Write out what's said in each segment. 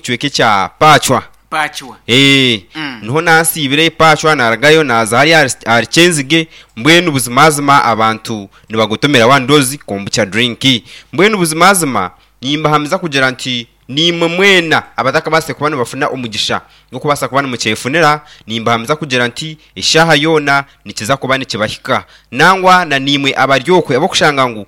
kicweka ekya Pacwa. Pacwa. Eeh, niho naasiibire Pacwa naarugayo naaza hariya ahari Kyenzige, mbwenu buzimazima abantu nibagotomera One Dose Kombucha Drink. Mbwenu buzimazima nimbahamiza kugira nti naimwe mwena abatakabaasire kuba nibafuna omugisha gw'okubaasa kuba nimukyefunira, nimbahamiza kugira nti eshaaha yoona nikiza kuba nikibahika. Nangwa na naimwe abari okwe ab'okushanga ngu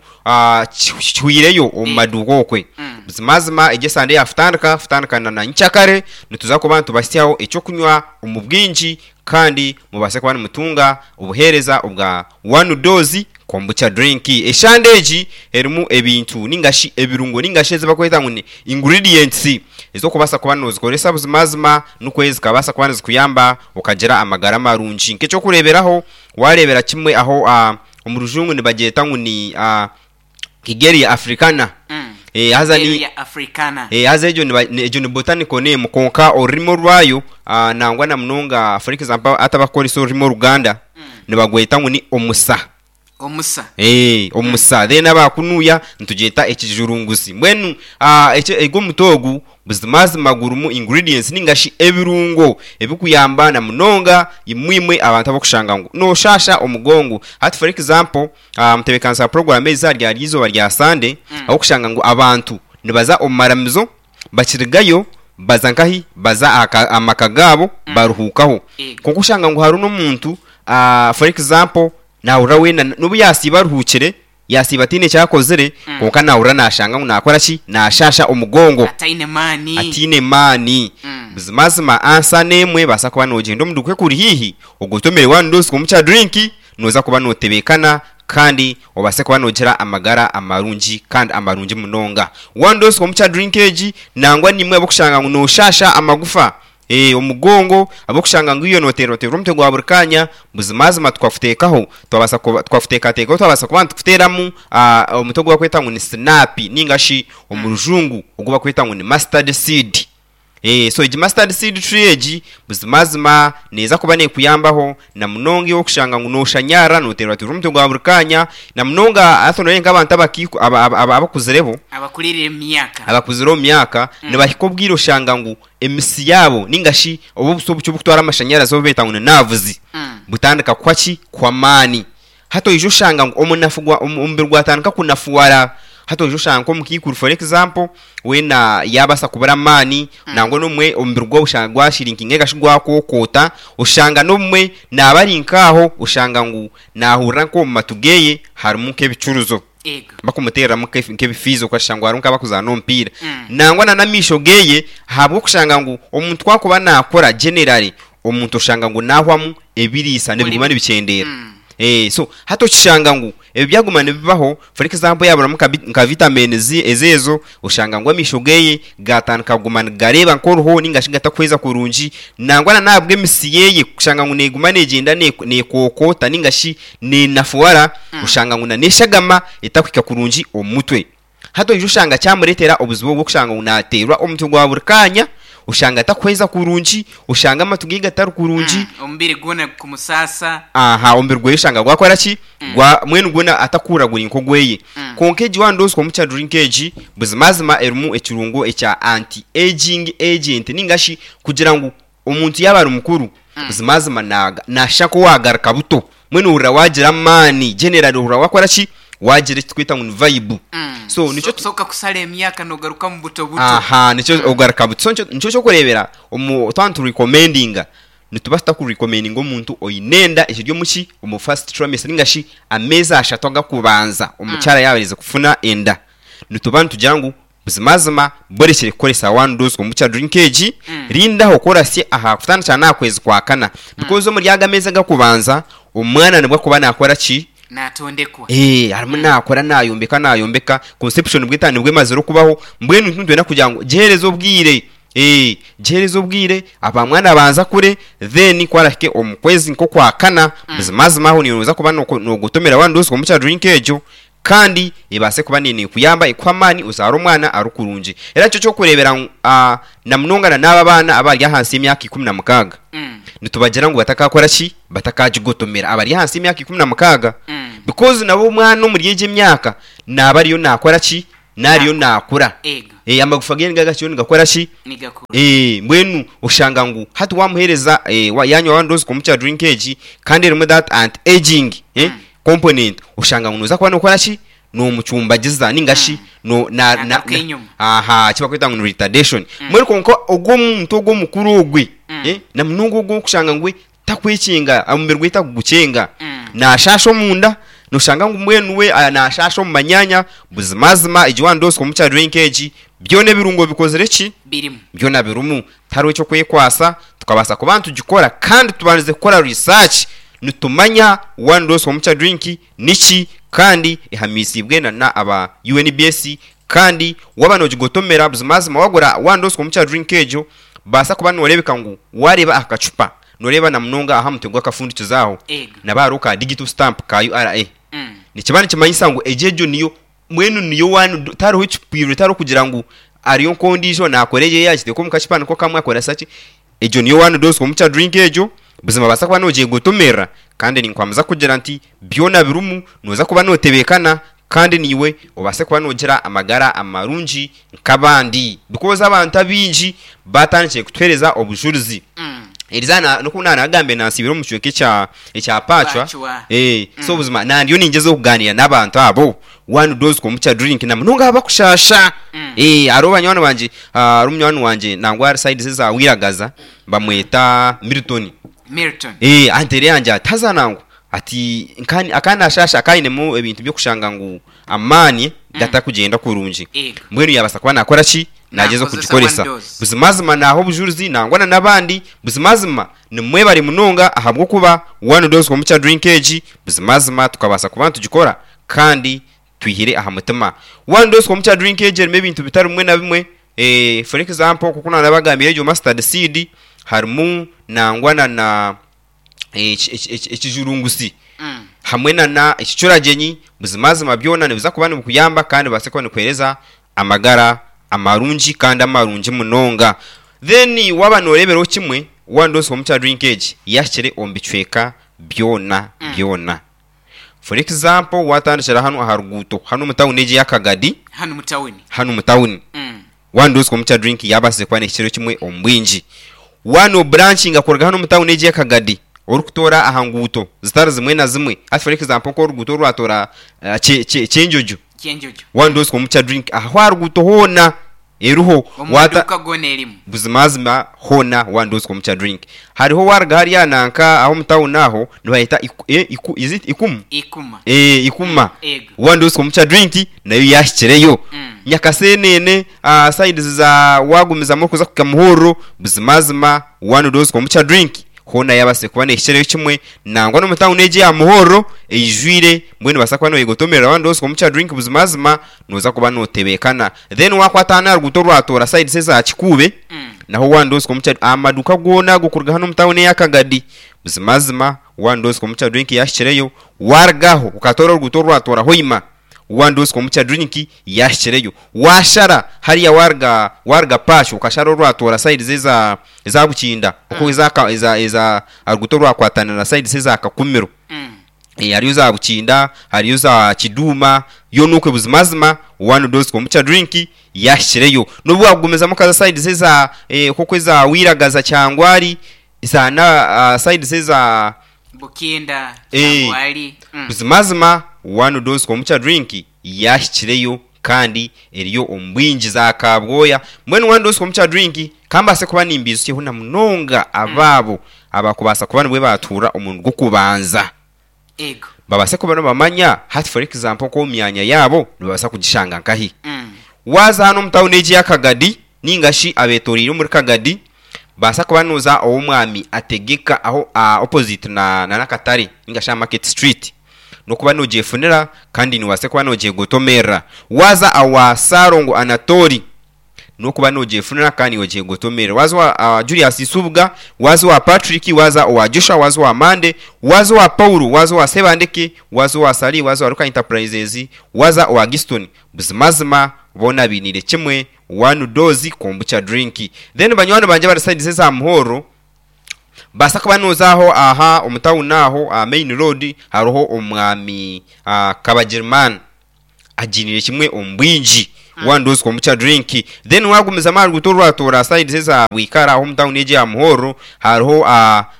kihwireyo omu maduuka okwe. Buzimazima egi esande yaakutandika, kutandika na nyenkyakare, nituza kuba nitubahitsyaho eky'okunywa omu bwingi kandi mubaase kuba nimutunga obuheereza obwa One Dose Kombucha Drink. Eshande egi erimu ebintu ninga shi ebirungo ninga shi ezi barikweta ngu ni ingredients ez'okubaasa kuba noozikoresa buzimazima nikwo zikabaasa kuba nizikuyamba okagira amagara marungi. Nk'eky'okureeberaho waareebera kimwe aho omu rujungu nibagyeta ngu ni Kigeria Africana. Haza ni Kigeria Africana. Haza egyo niba egyo ni botanical name kwonka orurimi orwayo nangwa na munonga for example hati abarikukoresa orurimi oruganda nibagweta ngu ni omusa. Omusa. Omusa then aba kunuya nitugyeta ekijurunguzi. Mbwenu egi omuti ogu Buzimazima gurimu ingredients ninga shi ebirungo ebikuyamba na munonga imwe imwe abantu abakushanga ngu noshasha omugongo. Hati for example mutebekanisa wa program ezi aha rya izooba rya Sunday ahokushanga ngu abantu nibaza omu maramizo bakirigayo baza nkahi? Baza aha maka gaabo baruhukaho. Kwonka oshanga ngu hariho n'omuntu for example nahurira weena nobu yasiiba aruhukire Yaasiiba ataine eki akozire, kwonka naahurira naashanga ngu naakora ki? Naashaasha omugongo. Ataine maani. Ataine maani. Buzimazima ansa n'emwe, baasa kuba noogyenda omu duuka ekuri haihi, ogotomere one dose komukya drink, nooza kuba nootebeekana kandi obaase kuba noogira amagara amarungi kandi amarungi munonga. One dose komukya drink egi, nangwa n'imwe ab'okushanga ngu nooshaasha amagufa, Ee, omugongo, ahabw'okushanga ngu iwe nooteerwateerwa omutwe gwa buri kaanya, buzimazima tukakuteekaho, twabaasa kuba, twakuteekateekaho twabaasa kuba nitukuteeramu omuti ogu barikweta ngu ni sinaapi nainga shi omu rujungu ogu barikweta ngu ni mustard seed. Ee, so egi mustard seed tree egi, buzimazima neeza kuba neekuyambaho na munonga iwe okushanga ngu nooshanyarara, nooteerwateerwa omutwe gwa buri kaanya, na munonga hati nooreeba nk'abantu abakaiku, aba- aba- abakuzireho, Abakurire omu myaka. abakuzire omu myaka, nibahika obwire oshanga ngu emisi yaabo ninga shi obu obusi obukye obukutwara amashanyarazi obu beeta ngu ni nerves butandika kuhwa ki? Kuhwa amaani. Hati oija oshanga ngu omunafu gwa omubiri gwatandika kunafuwara, hati oija oshanga nk'omukaikuru for example weena yaabaasa kubura amaani nangwa n'obumwe omubiri gwe oshanga gwashirinkinga ninga shi gwakookoota, oshanga n'obumwe naaba ari nk'aho oshanga ngu naahurira nk'omu matu geeye harimu nk'ebicuruzo. Ego. Bakumuteereramu nk'ebifiizo okashusha ngu hariho nk'abakuzaana omupiira. Nangwa na n'amaisho geye ahabw'okushanga ngu omuntu ku akuba naakura generally omuntu oshanga ngu naahwamu ebiriisa nibiguma nibikyendeera. So hati okishanga ngu ebyo byaguma nibibaho for example yaaburamu nka vitamins ezo oshanga ngu amaisho geye gaatandika kuguma nigareeba nk'oruho ninga shi gatakuhweza kurungi. Nangwa na n'ahabw'emisi yeye kushanga ngu neeguma neegyenda neekookoota ninga shi Neenafuwara, oshanga ngu na n'eshagama etakuhika kurungi omu mutwe. Hati oija oshanga kyamureetera obuzibu obw'okushanga ngu naateerwa omutwe gwa buri kaanya, oshanga atakuhweza kurungi, oshanga amatu ge gatari kurungi. Omubiri gwona gukumusaasa. Aha, omubiri gwe oshanga gwakora ki? Gwa, mbwenu gwona atakuhurira guri nk'ogweye. Kwonka egi one dose komukya drink egi, buzimazima erimu ekirungo ekya anti-aging agent ninga shi kugira ngu Omuntu yaaba ari mukuru, buzimazima naashusha nk'owaagaruka buto. Mbwenu ohurira waagira amaani, generally ohurira waakora ki? Waagira eki turikweta ngu ni vibe. So nikyo So kakusara emyaka noogarukamu buto buto. Aha, nikyo ogaruka buto. So nikyo ky'okureebera omu twaba niturekomendinga, nituba tutakurekomendinga omuntu oine enda ekiri omu ki? Omu first trimester ninga shi ameezi ashatu agakubanza omukyara yaaba aherize kufuna enda. Nituba nitugira ngu Buzimazima borekire kukoresa one dose kombucha drink egi, rindaho ku orasye aha kutandikira n'aha kwezi kwa kana because omuri ago ameezi agakubanza omwana nibwo akuba nakora ki? Natondekwa. Eeh arimu nakora nayombeka nayombeka conception nibwo etandika nibwo emazire okubaho mbwenu itwe nitwenda kugira ngu gihereze obwire eeh gihereze obwire aba mwana abanze akure then ku arahike omu kwezi nk'okwa kana buzimazima aho niiwe noza kuba nogotomera one dose kombucha drink egyo Kandi ebaase kuba neekuyamba ekuhe amaani ozaare omwana arikurungi. Era nikyo ky'okureebera ngu na munonga na n'abo abaana abari ahansi y'emyaka 16 nitubagira ngu batakaakora ki? Batakagigotomera. Abari ahansi y'emyaka 16 because nabo omwana omuri egyo emyaka naaba ariyo naakora ki? Naaba ariyo naakura. Amagufa ge nigaga nigakora ki? Nigakura. Mbwenu oshanga ngu hati wamuheereza yanywa one dose kombucha drink egi kandi erimu that anti aging component, oshanga ngu noza kuba nokora ki? Nomucumbagiza ninga shi no na na Nagaruka enyima. aha eki barikweta ngu ni retardation. Mbwenu kwonka ogwo omuntu ogwo omukuru ogwe na munonga ogwo orikushanga ngu we Takwekinga, omubiri gwe tagugukyenga. Naashaasha omunda, nooshanga ngu mbwenu we naashaasha omu manyaanya. Buzimazima egi one dose kombucha drink egi, byona ebirungo bikozire ki? Birimu. Byona birimu. Tihariho eky'okwekwasa, tukabaasa kuba nitugikora kandi tubandize kukora research nitumanya one dose kombucha drink niki kandi ehamiisiibwe na na aba UNBS kandi waaba noogigotomera buzimazima wagura one dose kombucha drink egyo, Baasa kuba nooreebeka ngu waareeba aha kacupa, nooreeba na munonga aha mutwe gw'akafundikizo aho, Ego. naba hariho ka digital stamp ka URA. Nikiba nikimanyisa ngu egyo egyo niyo, mbwenu niyo one, tihariho ekipwirwe, tihariho kugira ngu hariyo nk'ondiijo naakora eye agiteeka omu kacupa niko kamwe akoresa ki. Egyo niyo one dose kombucha drink egyo, buzima obaasa kuba noogyegotomerera kandi ninkwamiza kugira nti byona birimu, nooza kuba nootebeekana Kandi naiwe obaase kuba noogira amagara amarungi nk'abandi. Because abantu abaingi baatandikire kutuheereza obujurizi. Eriza na n'oku naanagambire naansiibire omu kicweka ekya ekya Pacwa. Pacwa. Eh, so buzima nandiyo ningyezaho kugaaniira n'abantu abo. One dose kombucha drink na munonga abakushaasha. Eh, hariho banywani bangye, hariho munywani wangye nangwa ari side eza Wiragaza bamweta Milton. Milton. Eh, anteire yangye ati haza nangwa Ati, Nka aka naashaasha akainemu ebintu by'okushanga ngu amaani gatakugyenda kurungi. Ego. Mbwenu yaabaasa kuba naakora ki? Naagyeza Naakozesa okugikoresa. one dose. Buzimazima naaha obujurizi nangwa na n'abandi. Buzimazima nimwebare munonga ahabw'okuba one dose kombucha drink egi buzimazima tukabaasa kuba nitugikora kandi twihire aha mutima. One dose kombucha drink egi erimu ebintu bitari bimwe na bimwe. For example nk'oku naanabagambire egyo mustard seed harimu nangwa na na ekijurungusi hamwe na ekicuragyenyi, buzimazima byona nibiza kuba nibikuyamba kandi bibaase kuba nibikuheereza amagara amarungi kandi amarungi munonga. Then waaba nooreeberaho kimwe, one dose kombucha drink egi yahikire omu bicweka byona byona. For example, waatandikira hanu aha ruguuto hanu omu tawuni egi eya Kagadi, Hanu mu tawuni. hanu omu tawuni, One dose kombucha drink yabaasize kuba nehikirayo kimwe omu bwingi. One oburanchinga kuruga hanu omu tawuni egi eya Kagadi orikutoora aha nguuto zitari zimwe na zimwe hati for example nk'oruguuto orwatoora Kyenjojo, Kyenjojo. One dose kombucha drink aho aha ruguuto hoona eriho. Omu Waata maduuka goona erimu. Buzimazima hoona one dose kombucha drink. Hariho waruga hariya nanka aho omu tawuni aho nibaheta is it Ikumu? Ikuma. Ikuma. Ego. One dose kombucha drink nayo yaahikireyo. Nyakaseenene, sides za waagumizamu orikuza kuhika Muhorro, buzimazima one dose kombucha drink hoona yaabaasire kuba neehikireyo kimwe. Nangwa n'omu tawuni egi eya Muhorro eijwire, mbwenu noobaasa kuba nooyegotomerera one dose kombucha drink buzimazima nooza kuba nootebeekana. Then waakwata hanu aha ruguuto orwatoora sides eza Kikuube, naho one dose kombucha, amaduuka goona ago kuruga hanu omu tawuni eya Kagadi, buzimazima one dose kombucha drink yaahikireyo. Waaruga aho okatoora oruguuto orwatoora Hoima, One dose kombucha drink yahikireyo. Washara hariya waruga waruga Pacho okashara orwatoora sides eza eza Bukinda okwo eza ka eza eza aruguuto orwakwatanira sides eza Kakumiro. Hariyo za Bukinda, hariyo za Kiduuma, yoona okwe buzimazima one dose kombucha drink yahikireyo. N'obu wakugumizamu okaza sides eza nk'oku eza Wiragaza, Kyangwari, za na sides eza Bukinda, Kyangwali. Buzimazima one dose kombucha drink yahikireyo kandi eriyo omu bwingi za kabwoya. Mbwenu one dose kombucha drink ka mbaase kuba nimbiizukyeho na munonga abaabo abakubaasa kuba nibwe baatuura omurundi gw'okubanza. Ego. Babaase kuba nibamanya hati for example nk'omu myanya yaabo nibabaasa kugishanga nkahi. Waaza hanu omu tawuni egi eya Kagadi ninga shi abetoreire omuri Kagadi, baasa kuba nooza ow'omwami Ategeka aho opposite na n'akatare ninga shi aha Market Street n'okuba noogyefunira kandi noobaasa kuba noogyegotomerera. Waaza owa Ssalongo Anatoli n'okuba noogyefunira kandi noogyegotomerera. Waaza owa Julius Nsubuga, waaza owa Patrick, waaza owa Joshua, waaza owa Mande, waaza owa Paul, waaza owa Sebandeke, waaza owa Sali, waaza owa Luka Enterprises, waaza owa Giston, buzimazima boona bainiire kimwe One dose kombucha drink. Then banywani bangye abari sides eza Muhorro baasa kuba noza aho aha omu town aho aha main road hariho omwami Kabagirimani agiiniire kimwe omu bwingi. One Dose Kombucha Drink. Then wagumizamu aha ruguuto orwatoora sides eza Bwikara aho omu town egyo eya Muhorro hariho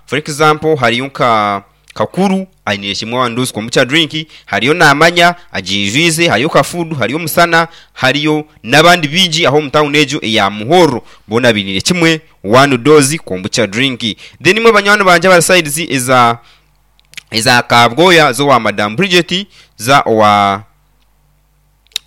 for example hariyo nka Kakuru ainiire kimwe One Dose Kombucha Drink, hariyo Namanya agiijwize, hariyo Kafudu, hariyo Musana, hariyo n'abandi baingi aho omu town egyo eya Muhorro boona bainiire kimwe One Dose Kombucha Drink. Then imwe banywani bangye abari sides eza eza Kabwoya z'owa Madam Bridget, za owa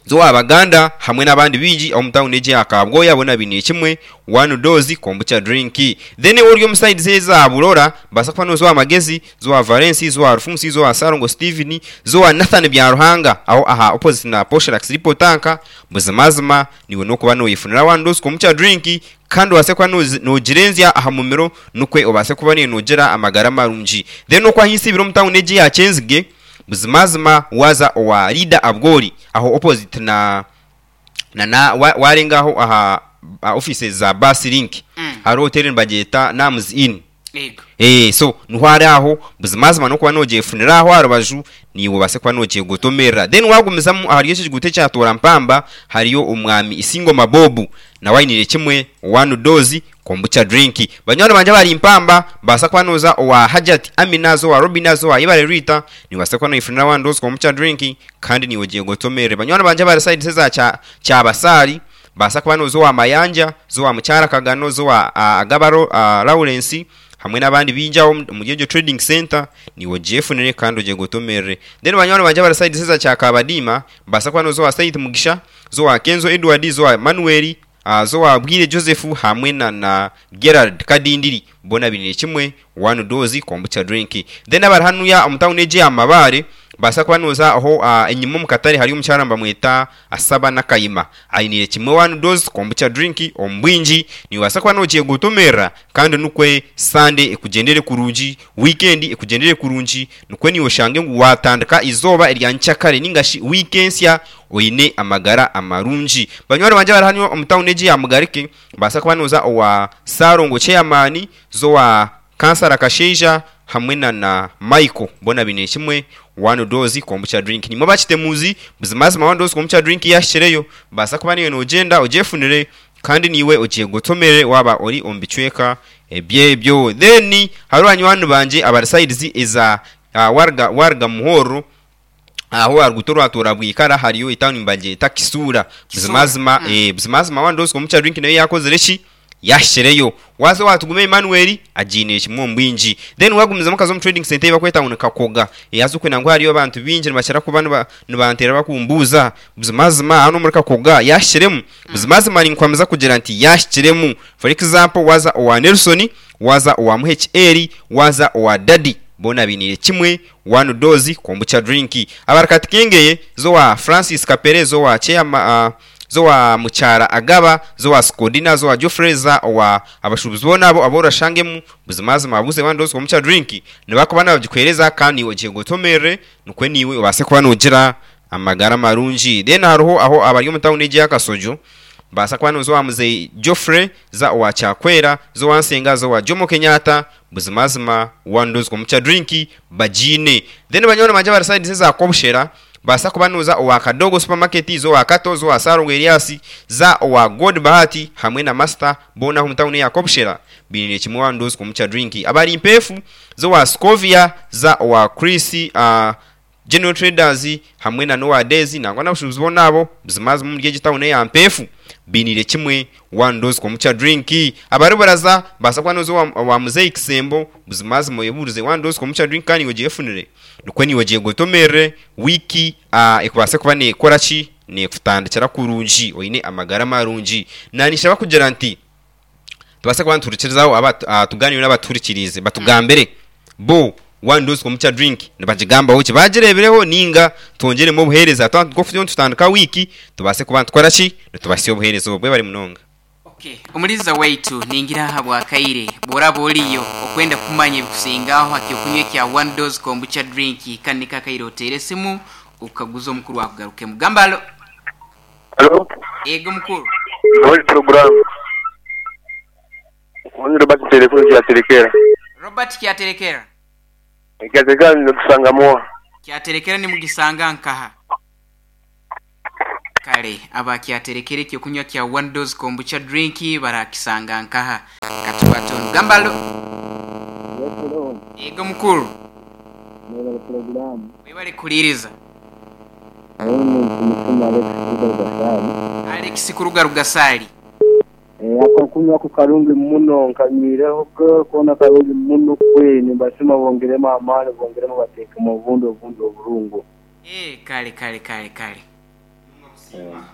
z'owa Baganda hamwe n'abandi baingi omu tawuni egi eya Kabwoya boona bainiire kimwe one dose kombucha drink. Then iwe ori omu sides eza Burora baasa kuba nooza owa Magezi, z'owa Valens, z'owa Rufunsi, z'owa Ssalongo Steven, z'owa Nathan Byaruhanga aho aha opposite na Poshelax Depot Tank, buzimazima niiwe n'okuba noyefunira one dose kombucha drink Kandi obaase kuba noogirenzya aha mumiro nukwe obaase kuba niiwe noogira amagara marungi. Then oku ahi nsiibire omu tawuni egi eya Kyenzige, buzimazima waaza owa Leader Abwori aho opposite na na waarenga aho aha offices za Bus Link hariho hoteri nibagyeta Nams Inn. Yego. Eeh so niho ari aho, buzimazima n'okuba noogyefunira aho aha rubaju, naiwe obaase kuba noogyegotomerera. Then waagumizamu ahari eki ekiguuto ekya Toora Mpamba, hariyo omwami Isingoma Bob, nawe ainiire kimwe one dose kombucha drink. Banywani bangye abari Mpamba, baasa kuba nooza owa Hajat Amina, haza owa Robina, haza owa Ibare Rita, nibaasa kuba noyefunira one dose kombucha drink, kandi naiwe ogyegotomerere. Banywani bangye abari side eza Kyabasaari, Baasa kuba nooza owa Mayanja, za owa Mukyara Kagano, za owa Agaba Lawrence hamwe n'abandi baingi aho omuri egyo trading centre, naiwe ogyefunire kandi ogyegotomerere. Then banywani bangye abari side eza Kyakabadiima, baasa kuba nooza owa Said Mugisha, za owa Kenzo Edward, za owa Manuel, za owa Bwire Joseph hamwe na na Gerald Kadindiri, boona bainiire kimwe one dose kombucha drink. Then abari hanuya omu town egi eya Mabaare, baasa kuba nooza aho enyima omu katare hariyo omukyara nibamweta Asaba Nakayima. Ainiire kimwe one dose kombucha drink omu bwingi. Niiwe kuba noogyegotomerera kandi nikwo Sunday ekugyendere kurungi, weekend ekugyendere kurungi, nikwo niiwe oshange ngu waatandika eizooba erya nkyakare nainga shi wiiki ensya oine amagara amarungi. Banywani bangye abari hanu omu tawuni egi eya Mugarike, nibaasa kuba nooza owa Ssalongo Chairman, z'owa Kansara Kashaija hamwe na na Michael boona baine kimwe one dose kombucha drink. Nimwe abakitemuzi, buzimazima one dose kombucha drink yahikireyo, baasa kuba naiwe nogyenda ogyefunire kandi naiwe ogyegotomere waaba ori omu bicweka ebyebyo. Then hariho banywani bangye abari sides eza waruga waruga Muhorro, aho aha ruguuto orwa Tooro Bwikara hariyo etawuni nibagyeta Kisuura. Buzimazima buzimazima one dose kombucha drink nayo yakozire ki? Yahikireyo. Waaza owa Tugume Emmanuel, agiiniire kimwe omu bwingi. Then waagumizamu okaza omu trading centre ei barikweta ngu ni Kakoga. Haza okwe nangwa hariyo abantu baingi nibakira kuba nibanteera barikumbuuza, buzimazima hanu omuri Kakoga yaahikiremu? Buzimazima ninkuhamiza kugira nti yaahikiremu. For example, waaza owa Nelson, waaza owa Muheki Eli, waaza owa Daddy, boona bainiire kimwe one dose kombucha drink. Abari Katikengeye, z'owa Francis Kapere, z'owa Chairman, z'owa Mukyara Agaba, z'owa Sikodina, z'owa Geoffrey, za owa abashuubuzi boona abo abu orashangemu, buzimazima babuuze one dose kombucha drink, nibakuba nibagikuheereza kandi naiwe ogyegotomerere nikwo naiwe obaase kuba noogira amagara marungi. Then hariho aho abari omu tawuni egi eya Kasojo, baasa kuba nooza owa Muzei Geoffrey, za owa Kyakwera, za owa Nsenga, za owa Jomo Kenyatta, buzimazima one dose kombucha drink bagiine. Then banywani bangye abari sides eza Kobushera, Baasa kuba nooza owa Kadogo Supermarket, za owa Kato, za owa Ssalongo Elias, za owa God Bahati hamwe na Master boona ab'omu tawuni eya Kobushera bainiire kimwe one dose kombucha drink. Abari Mpeefu, za owa Scovia, za owa Chris General Traders hamwe na n'owa Daisy nangwa n'abashuubuzi boona abo buzimazima omuri egi tawuni eya Mpeefu bainiire kimwe one dose kombucha drink. Abari Buraza, baasa kuba nooza owa Muzei Kisembo buzimazima oyebuurize one dose kombucha drink kandi iwe ogyefunire. Nikwo naiwe ogyegotomerere wiiki ekubaase kuba neekora ki? Neekutandikira kurungi oine amagara marungi. Naanishaba kugira nti tubaase kuba nituhurikirizaho aba tugaaniire n'abatuhurikiriize batugambire bo one dose kombucha drink nibagigambaho ki? Baagireebireho nainga twongyeremu obuheereza twaba nk'oku turiyo nitutandika wiiki tubaase kuba nitukora ki? Nitubahitsya obuheereza obwo. Webare munonga. Ok, Omuliza waitu, ningira ahabwa kaire bworaba oriyo okwenda kumanya ebikusingaho aha kyokunywa ekya One Dose Kombucha Drink, kanu niko akaire oteere esimu okaguze omukuru akugarukemu. Gamba alo. Alo. Ego mukuru. Muri puroguramu. Ni Robert Nterekura Kyaterekera. Robert Kyaterekera. Kyaterekera nitusangamu wa? Kyaterekera nimugisanga nkaha? Kale abakyaterekere ekyokunywa kya One Dose Kombucha Drink barakisanga nkaha? Katukwate onu. Gamba alo. Yes hello. Yego mukuru. Mwebale pulogulaamu. Webale kuhuliriza. Nyowe ni Mutima Alex kuruga Rugasaali. Alex kuruga Rugasaali. Eh, akokunywa ku karungi muno nkanyweireho ko koona karungi muno kwe nimbasiima bongeremu amaani bongeremu bateekemu obundi obundi oburungo. Eeh kale kale kale kale.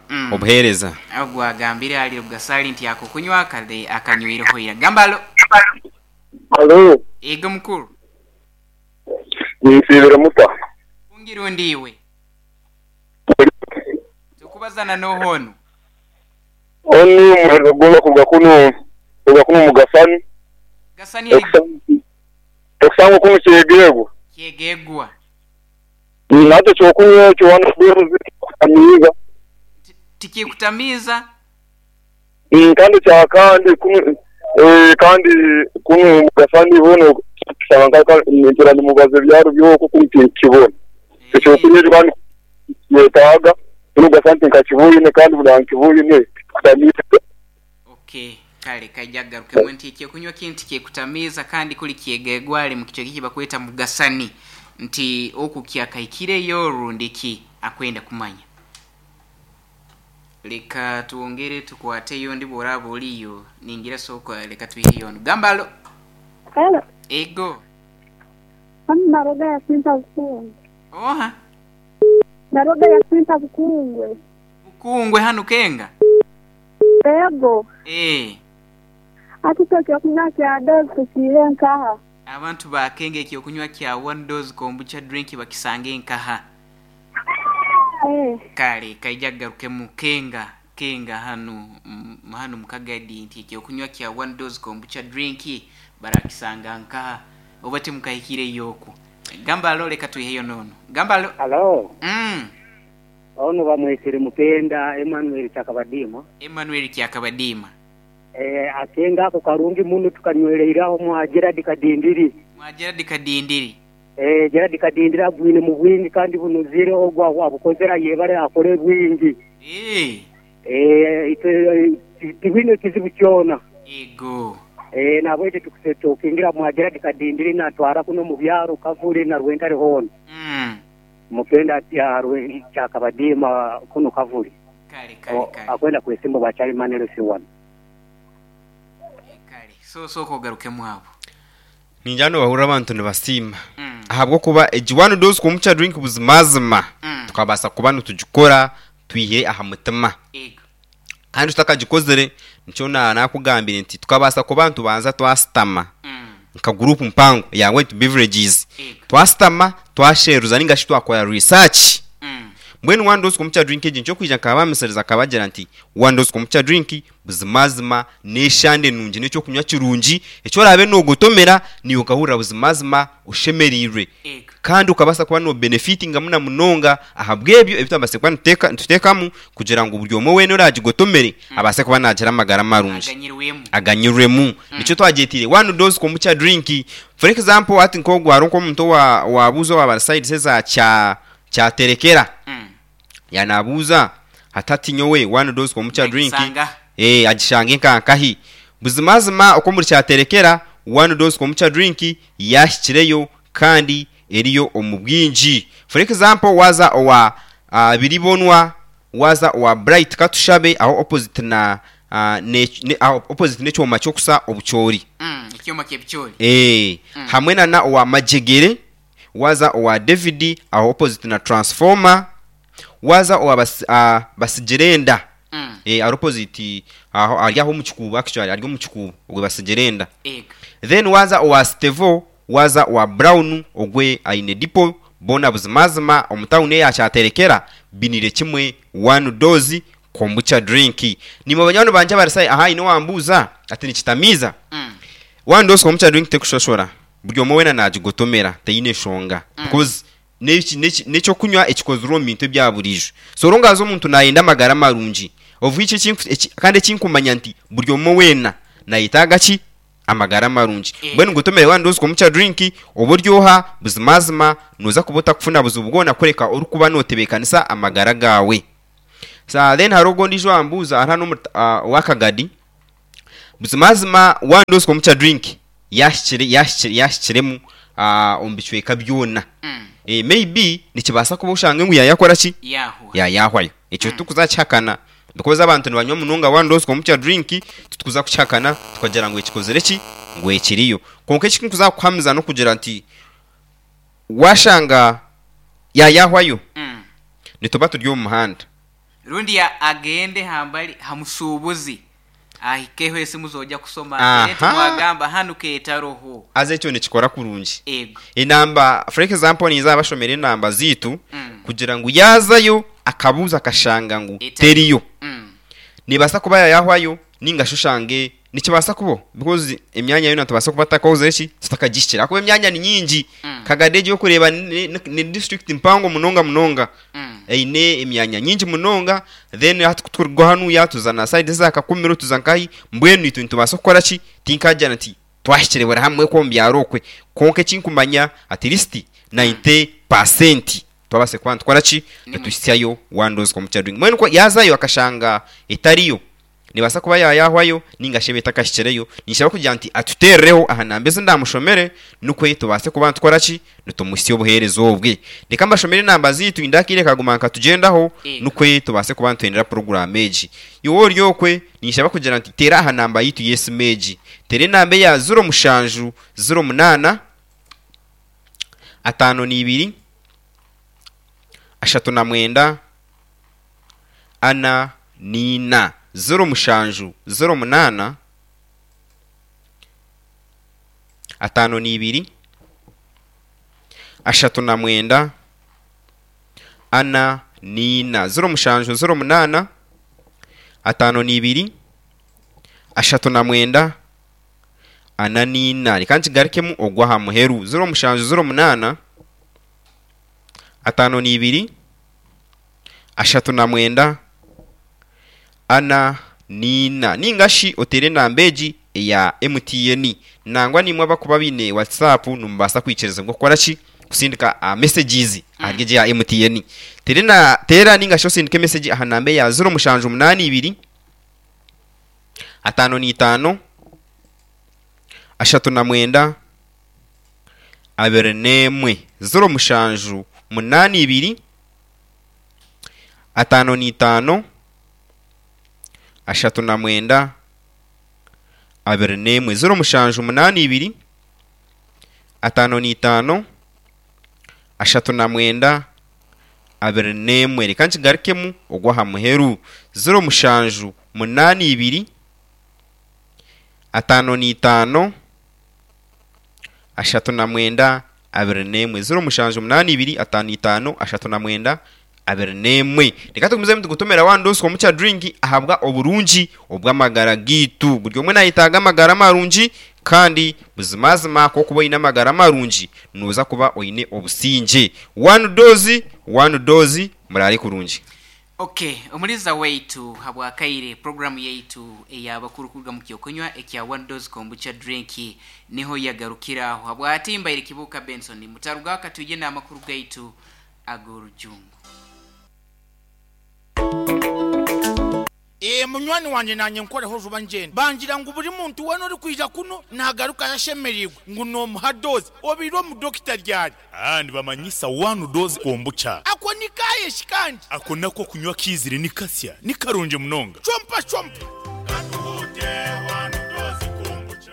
Mm. Obuheereza. Ogwo agambire ahari Rugasaali nti akokunywa kale akanyweireho ira. Gamba alo. Halo, Yego mukuru. ninsiibire muta? Kungi rundi iwe. Tukubazana n'oha onu? Onu muhereza gwona kuruga kunu kuruga kunu omu Gasani. Gasani eri Okusanga kunu Kyegegwa. Kyegegwa. Nakyo ekyokunywa ekyo one dose tikikutamiiza. Tikikutamiiza? Kandi ekyakandi kunu kandi kunu omu Gasani hoona kushanga nkira nimubaza ebyaro byokwo kunu tinkukibona. Ekyokunywa ekyo kandi nikyetaaga kunu Gasani tinkakiboine kandi buri ahankiboine tikikutamiiza. Ok, kale kaija kugarukemu nti ekyokunywa kinu tikyekutamiiza kandi kuri kyegegwa ari mukicweka ekibakweta Mugasani nti oku kyakaikireyo rundi ki akwenda kumanya. Leka twongere tukwateyo ondi bworaba oriyo ningira sooka leka twiheyo onu. Gamba alo. Hello. Ego. Hanu Naroga Yasinta Bukungwe. Oha? Naroga Yasinta Bukungwe. Bukungwe hanu Kenga? Ego. Eeh. Hati itwe ekyokunywa kya Dose tukiihe nkaha? Abantu ba Kenga ekyokunywa kya One Dose Kombucha Drink bakisange nkaha? Eeh. Kale kaija kugarukemu Kenga Kenga hanu hanu mu Kagadi nti ekyokunywa kya One Dose Kombucha Drink barakisanga nkaha? Oba timukahikireyo okwo? Gamba alo leka twiheyo n'onu. Gamba alo. Halo, Mm. ono bamwesire Mupenda Emmanuel Kyakabadiima. Emmanuel Kyakabadiima. Eh, akenga ako karungi muno tukanywereire agho mwa Gerald Kadindiri. Mwa Gerald Kadindiri. Eh, Gerald Kadindiri agwine mu bwingi kandi bunuzire ogwo abukozere ayebare akole bwingi. Eh. Eh, itwe tibwine kizibu kyona. Ego. Eh, nahabwekyo tukingira mwa Gerald Kadindiri natwara kuno mu byaro Kavule na Rwentare hoona. Mupenda ati Kyakabadiima kuno Kavule. Kale, kale, kale. Akwenda kwesimba obwa Chairman LC1. Kale, so sooka ogarukemu abo. Ningira nobahurira abantu nibasiima ahabw'okuba egi one dose kombucha drink buzimazima tukabaasa kuba nitugikora twihire aha mutima. Ego. Kandi tutakagikozire nikyo naakugambire nti tukabaasa kuba nitubanza twasitama nka guruupu mpango eya White Beverages twasitama twasheruza ninga shi twakora research mbwenu one dose kombucha drink egi nikyo kwija nkabamisiriza nkabagira nti one dose kombucha drink buzimazima n'eshande nungi n'ekyokunywa kirungi eki oraabe noogotomera naiwe okahurira buzimazima oshemereirwe Kandi okabaasa kuba noobenefitingamu na munonga ahabw'ebyo ebi twabaasize kuba nituteekamu kugira ngu buri omwe weena oraagigotomere abaase kuba naagira amagara marungi. Aganyirwemu. Aganyirwemu. Nikyo twagyetiire one dose kombucha drink. For example hati nk'ogu hariho nk'omuntu owaabuuza owaaba ari sides eza Kyaterekera. Yaanaabuuza ati hati nyowe one dose kombucha drink Nagisanga. agishange nka nkahi? Buzimazima oku omuri Kyaterekera one dose kombucha drink yaahikireyo kandi eriyo omu bwingi. For example waaza owa Biribonwa, waaza owa Bright Katushabe aho opposite na aho opposite n'ekyoma ky'okusa obucoori. Ekyoma ky'ebicoori. Hamwe na na owa Majegere, waaza owa David aho opposite na transformer, waaza owa Basigirenda ari opposite aho ari aho omu kikuubo actually ari omu kikuubo ogwe Basigirenda. Then waaza owa Stevo, waaza owa Brown ogwe aine dipo, boona buzimazima omu tawuni eya Kyaterekera binire kimwe one dose kombucha drink. Naimwe banywani bangye abari sayi aha haine owambuuza ati nikitamiiza? One dose kombucha drink tekushoshora, buri omwe weena nagigotomera teine nshonga because n'ekyokunywa ekikozirwe omu bintu ebya buriijo. So long as omuntu nayenda amagara marungi of which kandi ekinkumanya nti buri omwe weena nayetaaga ki? Amagara marungi. Mbwenu gotomere one dose kombucha drink obe ori oha buzimazima noza kuba otakufuna buzibu bwona kureka orikuba notebeekanisa amagara gaawe. Sa then hariho ogu ondiijo owambuuza ari hanu omu owa Kagadi, buzimazima one dose kombucha drink yahikire yahikire yahikiremu omu bicweka byona. Maybe nikibaasa kuba oshange ngu yaayakora ki? Yaahwa. Yaayahwayo. Ekyo titukuza kukihakana because abantu nibanywa munonga one dose kombucha drink, titukuza kukihakana tukagira ngu ekikozire ki? Ngu ekiriyo. Kwonka eki ndikuza kukuhamiza n'okugira nti waashanga yaayahwayo, nituba turi omu muhanda. Rundi ya agende hambali ha musuubuzi ahikeho esimu z'oja kusoma atere nti Aha. mwagamba hanu ketaroho. Haza ekyo nikikora kurungi. Ego. Enamba, for example ninza abashomera enamba zaitu kugira ngu yaazayo akabuuza akashanga ngu Etariyo. teriyo. Neebaasa kuba yaayahwayo ninga shi oshange nikibaasa kubaho because emyanya yoona nitubaasa kuba tutakakozire ki? Tutakagihikire ahakuba emyanya ni nyingi. Kagadi egi orikureeba ni district mpango munonga munonga. Eine emyanya nyingi munonga then hati ku turikuruga hanuya tuza na sayidi eza Kakumiro tuza nkahi mbwenu itwe nitubaasa kukora ki? Tinkagira nti twahikire buri hamwe okwo omu byaro okwe kwonka eki nkumanya at least 90% twabaasa kuba nitukora ki? Nituhitsyayo one dose kombucha drink. Mbwenu ku yaazayo akashanga etariyo Nebaasa kuba yaayahwayo nainga shi ebe etakahikireyo. Ninshaba kugira nti atuteerereho aha namba ezi ndaamushomere nikwo tubaase kuba nitukora ki? Nitumuhitsya obuheereza obwe. Reka mbashomere enamba zaitu hine akaire kaguma nikatugyendaho nikwo tubaase kuba nituhendera puroguraamu egi. Iwe ori okwe, ninshaba kugira nti teera aha namba yaitu y'esimu egi. Teera enamba eya ziro mushanju, ziro munaana, ataano n'ibiri, ashatu na mwenda, ana n'ina, ziro mushanju, ziro munaana, ataano n'ibiri, ashatu na mwenda, ana n'ina, 07 08, 52, 39, 44. Reka nkigarukemu ogw'aha muheru, 07 08, 52, 39, 44. Nainga shi oteere enamba egi eya MTN. Nangwa naimwe abarikuba baine WhatsApp nimubaasa kwikirizibwa kukora ki? Kusindika messages ahari egi eya MTN. Teera nainga shi osindike message aha namba eya 0782 55 39 21. 0782 55 39 21 0782 55 39 21 Reka nkigarukemu ogw'aha muheru 0782 55 39 21 0782 55 39 21. Reka tugumizemu nitugutomera one dose kombucha drink ahabwa oburungi obw'amagara gaitu. Buri omwe nayetaaga amagara marungi kandi buzimazima ku orikuba oine amagara marungi noza kuba oine obusingye. One dose, one dose, muraare kurungi. Ok, Omuliza waitu habwakaire puroguramu yaitu ey'abakuru kuruga mu ky'okunywa ekya One Dose Kombucha Drink niho yagarukira aho. Habwati mbaire Kibuuka Benson, mutarugaho katwije n'amakuru gaitu ag'orujungu. Ee, munywani wangye naanye nkoreho juba ngyende. Bangira ngu buri muntu weena orikwija kunu naagarukayo ashemereirwe ngu noomuha doozi. Obaire omu dokita ryari? Aa, nibamanyisa one dose kombucha. Ako ni kaaye shi kandi? Ako nako okunywa kaizire ni kasya, ni karungi munonga. Chompa chompa. Katuhuute one dose kombucha.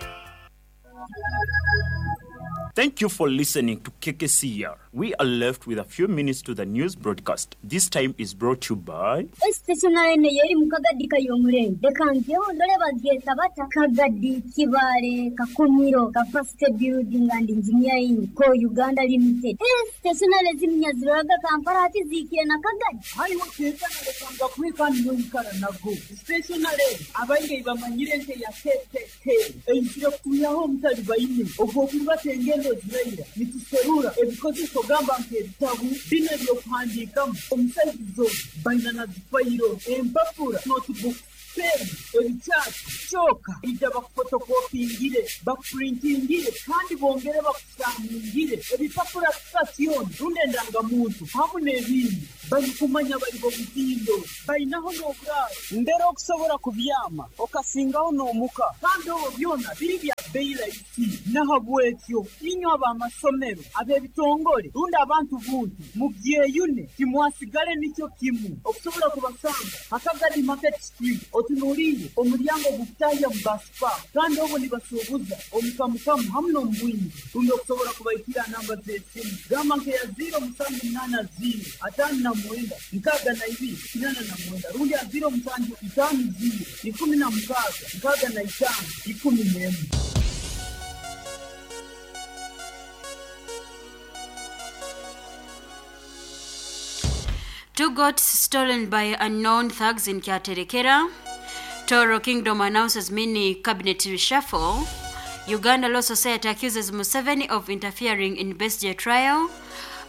Thank you for listening to KKCR. We are left with a few minutes to the news broadcast. This time is brought to you by. Stationery nayo eri mu Kagadi Kayomurenge. Reka nzeho ndore bagyeta bata Kagadi Kibaale Kakumiro Capacity Building and Engineering Co Uganda Limited. Stationery ezi nyaziroraga Kampala hati zihikire na Kagadi. Haiwe Keitana reka ngakuhe kandi noikara nago. Stationery abaingi eibamanyire nk'eya KKK eizire kutwihaho omutalibaine ogw'okuribata engendo eziraira. Nituserura ebikozeso gamba nk'ebitabu, binu eby'okuhandiikamu omu saizi zoona, baina na zifayiro, empapura, notebooks, peeni, ebikyati, kyoka ija bakufotokopingire, bakupurintingire kandi bongere bakusaaningire ebipapura sitasyoni rundi endangamuntu hamu n'ebindi. Barikumanya bari b'omutindo. Bainaho n'oburaaro mbere okusobora kubyama okasingaho n'omuka kandi obwo byona biri bya bbeyi raisi. Nahabwekyo inywe ab'amasomero, ab'ebitongore rundi abantu buntu mubyeyune timwasigale nikyo kimu. Okusobora kubasanga ha Kagadi Market Street otunuliire omulyango ogukutahya mu Bus Park kandi obwo nibasuubuza omu kamukamu hamu n'omu bwingi. Rundi okusobora kubaikira aha namba z'esimu gamba nk'eya ziiro musanju munaana ziiro ataano na mwenda 62 89 rundi aha ziiro musanju itaano ziiro 16 65 11. Two goats stolen by unknown thugs in Kyaterekera. Toro Kingdom announces mini cabinet reshuffle. Uganda Law Society accuses Museveni of interfering in Besigye trial.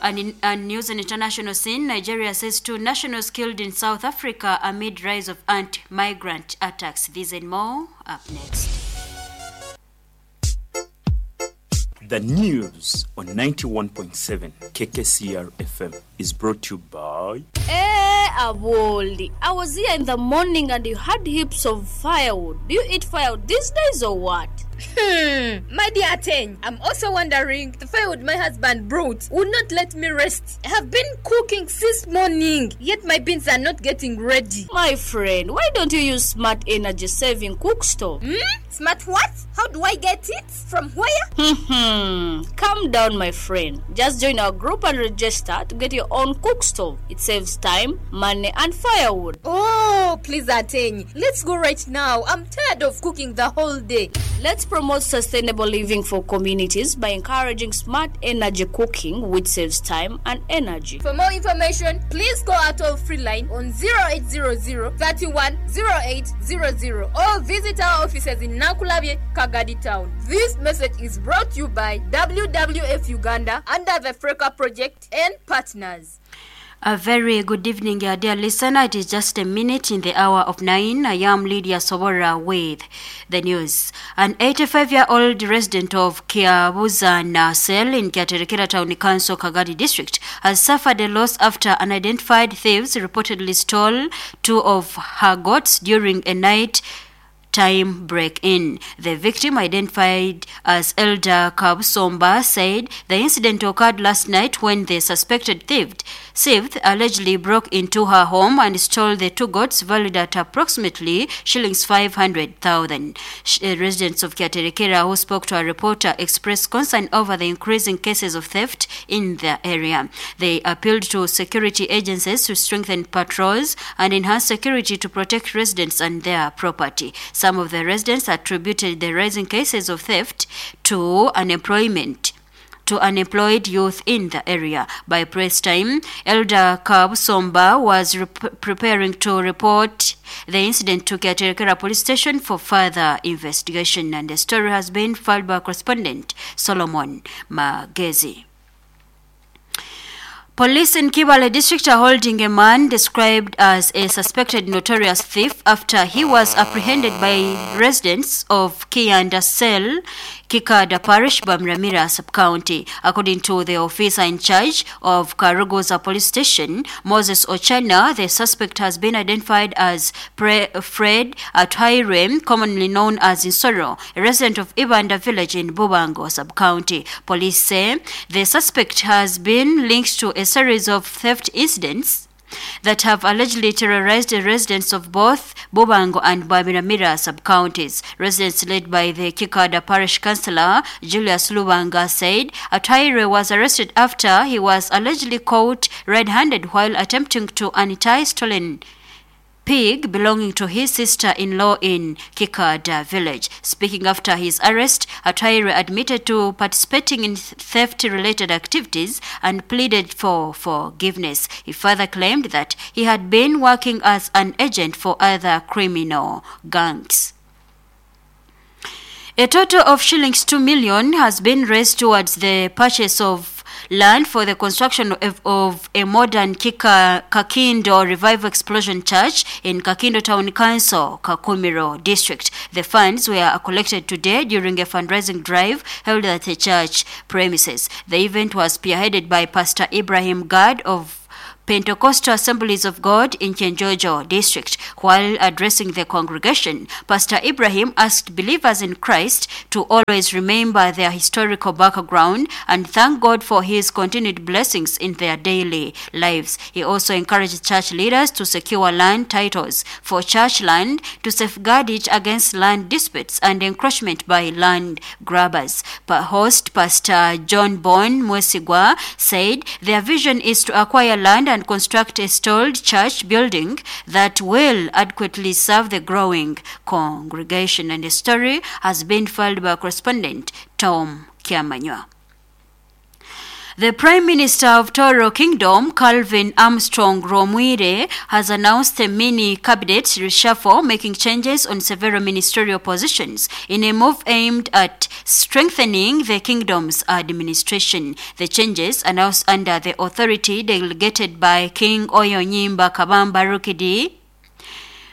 And in and news and international scene, Nigeria says two nationals killed in South Africa amid rise of anti-migrant attacks. These and more up next. The news on 91.7 KKCR FM is brought to you by. Eeh Aboli, I was here in the morning and you had heaps of firewood, do you eat firewood these days or what? Hmm, my dear Ateny, am also wondering, the firewood my husband brought would not let me rest. I have been cooking since morning, yet my beans are not getting ready. My friend, why don't you use smart energy saving cook stove? Hmm, smart what? How do I get it? From where? Hmm, calm down my friend. Just join our group and register to get your own cook stove. It saves time, money and firewood. Oh, please Ateny, let's go right now. I'm tired of cooking the whole day. Let's promote sustainable living for communities by encouraging smart energy cooking which saves time and energy. For more information, please call our toll free line on 0800 31 0800 or visit our offices in Nakulabye, Kagadi Town. This message is brought to you by WWF Uganda under the Freka Project and partners. A very good evening, dear listener. It is just a minute in the hour of 9. I am Lydia Sobora with the news. An 85-year-old resident of Kiabuzana cell in Kyaterekera Town Council, Kagadi District, has suffered a loss after unidentified thieves reportedly stole two of her goats during a night time break-in. The victim, identified as Elder Kabusomba, said the incident occurred last night when the suspected thief allegedly broke into her home and stole the two goats valued at approximately shillings 500,000. Residents of Kyaterekera who spoke to a reporter expressed concern over the increasing cases of theft in the area. They appealed to security agencies to strengthen patrols and enhance security to protect residents and their property. Some of the residents attributed the rising cases of theft to unemployment, to unemployed youth in the area. By press time, Elder Kabusomba was preparing to report the incident to Kyaterekera Police Station for further investigation. And the story has been filed by correspondent Solomon Magezi. Police in Kibaale district are holding a man described as a suspected notorious thief after he was apprehended by residents of Kianda Cell, Kikada Parish, Bamramira sub-county. According to the officer in charge of Karuguza Police Station, Moses Ochana, the suspect has been identified as Fred Atwairem, commonly known as Insoro, a resident of Ibanda village in Bubango sub-county. Police say the suspect has been linked to a series of theft incidents that have allegedly terrorized the residents of both Bubango and Bamiramira sub-counties. Residents led by the Kikada Parish Councillor Julius Lubanga said Atwaire was arrested after he was allegedly caught red-handed while attempting to untie stolen pig belonging to his sister-in-law in Kikada village. Speaking after his arrest, Atwaire admitted to participating in theft-related activities and pleaded for forgiveness. He further claimed that he had been working as an agent for other criminal gangs. A total of shillings 2 million has been raised towards the purchase of land for the construction of a modern Kakindo Revival Explosion Church in Kakindo Town Council, Kakumiro District. The funds were collected today during a fundraising drive held at the church premises. The event was spearheaded by Pastor Ibrahim Gad of Pentecostal Assemblies of God in Kyenjojo district. While addressing the congregation, Pastor Ibrahim asked believers in Christ to always remember their historical background and thank God for his continued blessings in their daily lives. He also encouraged church leaders to secure land titles for church land to safeguard it against land disputes and encroachment by land grabbers. Host Pastor John Bon Mwesigwa said their vision is to acquire land and construct a stalled church building that will adequately serve the growing congregation. And the story has been filed by correspondent Tom Kiamanywa. The Prime Minister of Toro Kingdom, Calvin Armstrong Romwire, has announced a mini cabinet reshuffle, making changes on several ministerial positions in a move aimed at strengthening the kingdom's administration. The changes, announced under the authority delegated by King Oyonyimba Kabamba Rukidi,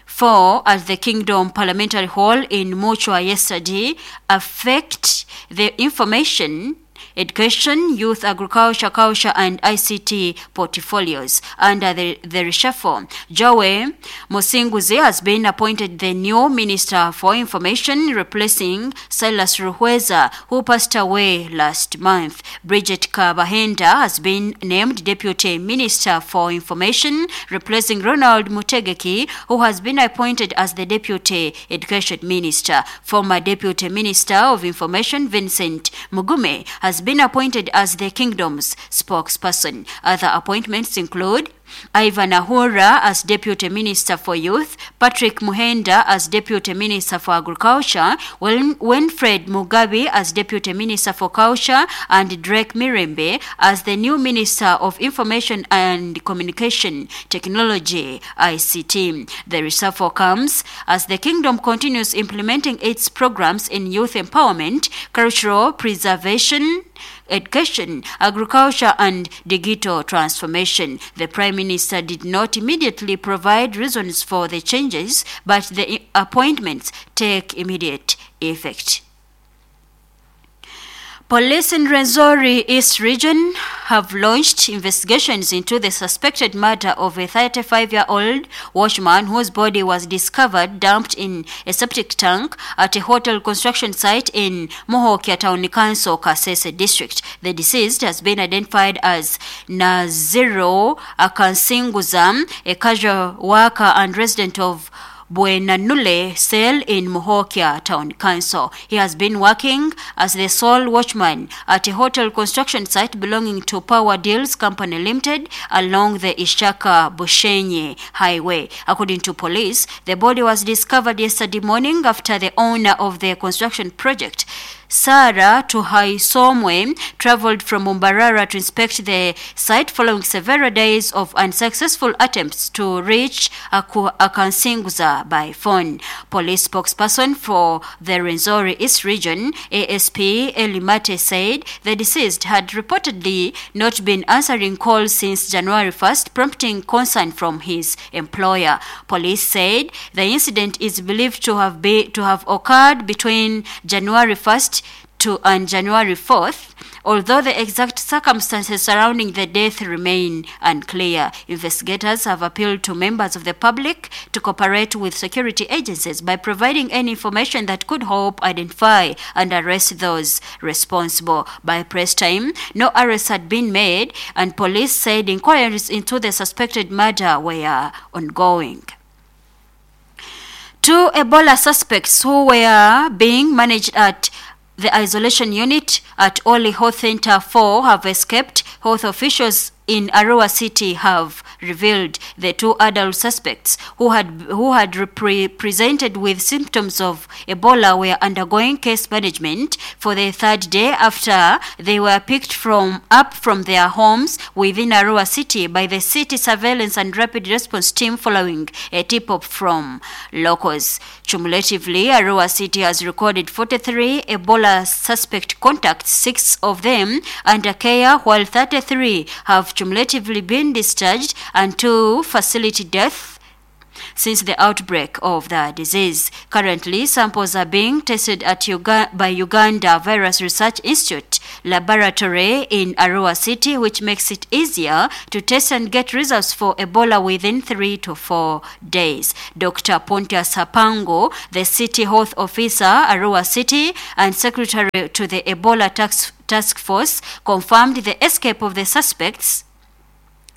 4 at the Kingdom Parliamentary Hall in Muchwa yesterday, affect the information, education, youth, agriculture, culture, and ICT portfolios. Under the reshuffle, Joey Musinguzi has been appointed the new Minister for Information, replacing Silas Ruhweza, who passed away last month. Bridget Kabahenda has been named Deputy Minister for Information, replacing Ronald Mutegeki, who has been appointed as the Deputy Education Minister. Former Deputy Minister of Information, Vincent Mugume, has been appointed as the kingdom's spokesperson. Other appointments include Ivan Ahura as Deputy Minister for Youth, Patrick Muhenda as Deputy Minister for Agriculture, Winfred Mugabe as Deputy Minister for Culture, and Drake Mirembe as the new Minister of Information and Communication Technology, ICT. The reshuffle comes as the kingdom continues implementing its programs in youth empowerment, cultural preservation, education, agriculture, and digital transformation. The Prime Minister did not immediately provide reasons for the changes, but the appointments take immediate effect. Police in Rwenzori East Region have launched investigations into the suspected murder of a 35-year-old watchman whose body was discovered dumped in a septic tank at a hotel construction site in Muhokya Town Council, Kasese District. The deceased has been identified as Naziro Akansinguza, a casual worker and resident of Buenanule Cell in Muhokya Town Council. He has been working as the sole watchman at a hotel construction site belonging to Power Deals Company Limited along the Ishaka Bushenyi Highway. According to police, the body was discovered yesterday morning after the owner of the construction project, Sarah Tuhaisomwe, traveled from Mbarara to inspect the site following several days of unsuccessful attempts to reach Akansinguza by phone. Police spokesperson for the Rwenzori East Region, ASP Elimate, said the deceased had reportedly not been answering calls since January 1st, prompting concern from his employer. Police said the incident is believed to have occurred between January 1st and January 4th, although the exact circumstances surrounding the death remain unclear. Investigators have appealed to members of the public to cooperate with security agencies by providing any information that could help identify and arrest those responsible. By press time, no arrests had been made, and police said inquiries into the suspected murder were ongoing. Two Ebola suspects who were being managed at the isolation unit at Oli Health Center 4 have escaped, health officials in Arua City have revealed. The two adult suspects who had presented with symptoms of Ebola were undergoing case management for the third day after they were picked up from their homes within Arua City by the City Surveillance and Rapid Response Team following a tip-off from locals. Cumulatively, Arua City has recorded 43 Ebola suspect contacts, 6 of them under care, while 33 have cumulatively been discharged and 2 facility deaths. since the outbreak of the disease. Currently, samples are being tested at Uga by Uganda Virus Research Institute laboratory in Arua City, which makes it easier to test and get results for Ebola within 3 to 4 days. Dr. Pontius Hapango, the City Health Officer, Arua City, and Secretary to the Ebola Task Force, confirmed the escape of the suspects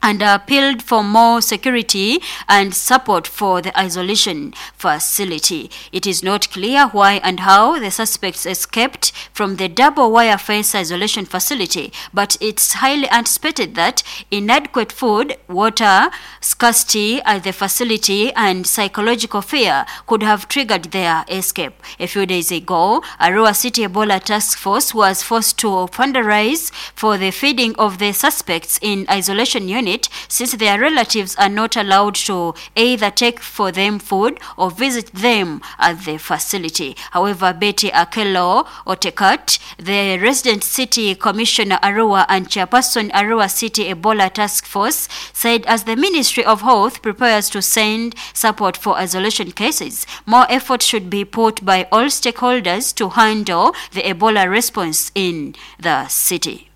and appealed for more security and support for the isolation facility. It is not clear why and how the suspects escaped from the double wire fence isolation facility, but it's highly anticipated that inadequate food, water scarcity at the facility and psychological fear could have triggered their escape. A few days ago, Arua City Ebola Task Force was forced to fundraise for the feeding of the suspects in isolation unit since their relatives are not allowed to either take for them food or visit them at the facility. However, Betty Akello Otekat, the resident city commissioner Arua and chairperson Arua City Ebola Task Force, said as the Ministry of Health prepares to send support for isolation cases, more effort should be put by all stakeholders to handle the Ebola response in the city.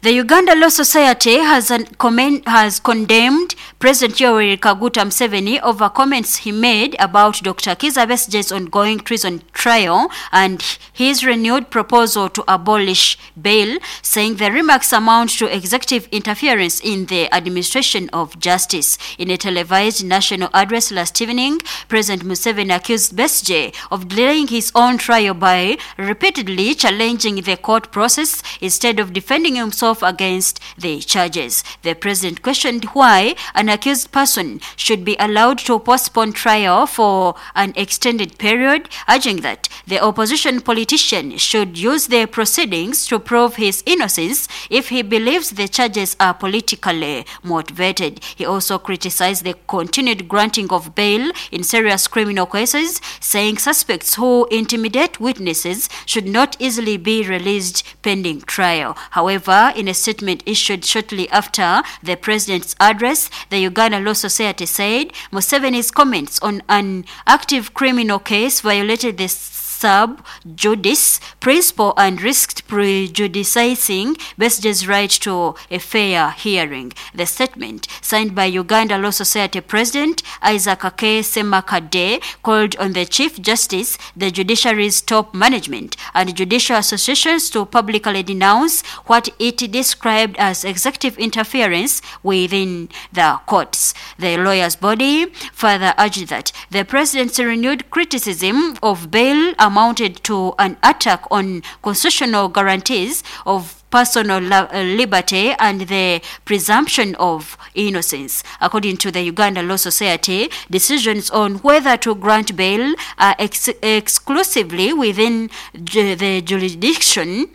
The Uganda Law Society has, an has condemned President Yoweri Kaguta Museveni over comments he made about Dr. Kizza Besigye's ongoing treason trial and his renewed proposal to abolish bail, saying the remarks amount to executive interference in the administration of justice. In a televised national address last evening, President Museveni accused Besigye of delaying his own trial by repeatedly challenging the court process instead of defending himself against the charges. The president questioned why an accused person should be allowed to postpone trial for an extended period, urging that the opposition politician should use the proceedings to prove his innocence if he believes the charges are politically motivated. He also criticized the continued granting of bail in serious criminal cases, saying suspects who intimidate witnesses should not easily be released pending trial. However, in a statement issued shortly after the president's address, the Uganda Law Society said Museveni's comments on an active criminal case violated the sub judice principle and risked prejudicing Besigye's right to a fair hearing. The statement, signed by Uganda Law Society President Isaac K. Ssemakadde, called on the Chief Justice, the judiciary's top management, and judicial associations to publicly denounce what it described as executive interference within the courts. The lawyers' body further urged that the president's renewed criticism of bail amounted to an attack on constitutional guarantees of personal liberty and the presumption of innocence. According to the Uganda Law Society, decisions on whether to grant bail are exclusively within the jurisdiction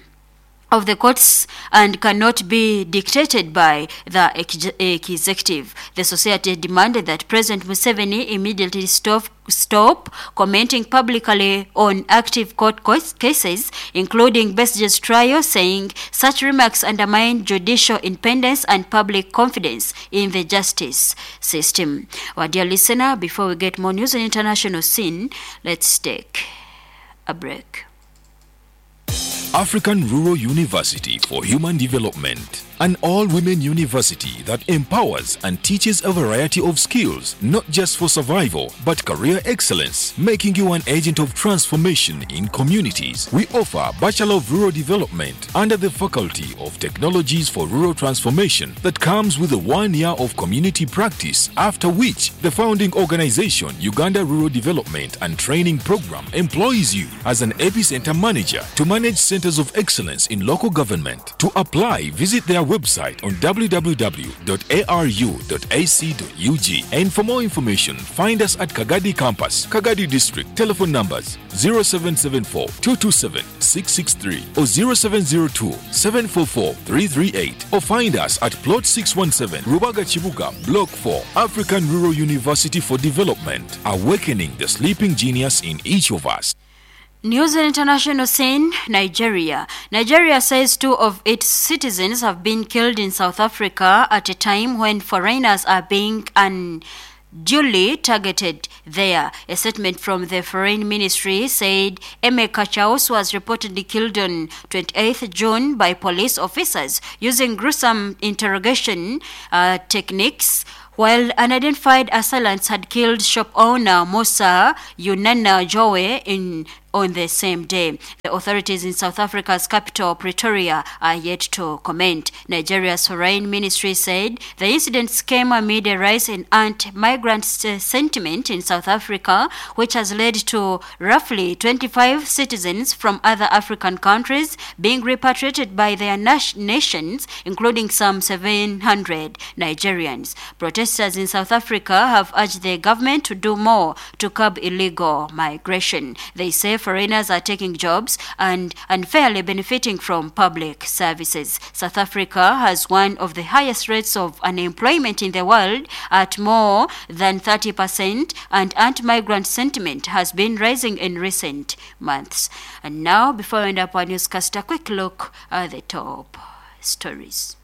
of the courts and cannot be dictated by the executive. The society demanded that President Museveni immediately stop commenting publicly on active court cases, including Besigye's trial, saying such remarks undermine judicial independence and public confidence in the justice system. Well, dear listener, before we get more news on international scene, let's take a break. African Rural University for Human Development, an all-women university that empowers and teaches a variety of skills, not just for survival, but career excellence, making you an agent of transformation in communities. We offer Bachelor of Rural Development under the Faculty of Technologies for Rural Transformation that comes with a 1 year of community practice, after which the founding organization, Uganda Rural Development and Training Program, employs you as an epicenter manager to manage centers of excellence in local government. To apply, visit their website on www.aru.ac.ug. And for more information, find us at Kagadi Campus, Kagadi District. Telephone numbers 0774 227 663 or 0702 744 338, or find us at Plot 617, Rubaga Chibuga, Block 4, African Rural University for Development, awakening the sleeping genius in each of us. News and international scene, Nigeria. Nigeria says 2 of its citizens have been killed in South Africa at a time when foreigners are being duly targeted there. A statement from the foreign ministry said Emeka Chaus was reportedly killed on 28th June by police officers using gruesome interrogation techniques while unidentified assailants had killed shop owner Musa Yunana Jowe in on the same day. The authorities in South Africa's capital, Pretoria, are yet to comment. Nigeria's foreign ministry said the incidents came amid a rise in anti-migrant sentiment in South Africa, which has led to roughly 25 citizens from other African countries being repatriated by their nations, including some 700 Nigerians. Protesters in South Africa have urged the government to do more to curb illegal migration. They say foreigners are taking jobs and unfairly benefiting from public services. South Africa has one of the highest rates of unemployment in the world at more than 30%, and anti-migrant sentiment has been rising in recent months. And now, before we end up our newscast, a quick look at the top stories.